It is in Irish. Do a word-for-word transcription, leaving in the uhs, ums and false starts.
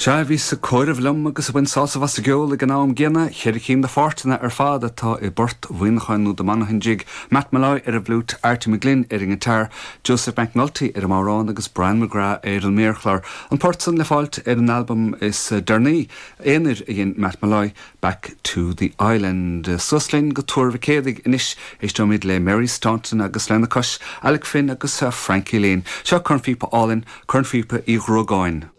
Sea bhí sa comhaireamh liom agus bhain sásamh as an gceol ag an am gcéanna ceithre cinn de pháirteanna ar fad atá i bport Mhuineacháin nó The Monaghan Jig, Matt Molloy ar an bhfliúit, Artie McGlynn ar an ngiotár, Joseph McNulty ar an mbodhrán agus Brian McGrath ar an méarchlár. An port san le fáilt ar an albam is deireanaí aonair a dhein Matt Molloy Back to the Island. Suas linn go Tuar Mhic Éadaigh anois éisteoimid le Mary Staunton agus lena cois Alec Finn agus Frankie Lane. Seo cornphíopa álainn, cornphíopa Uí Ghruagáin.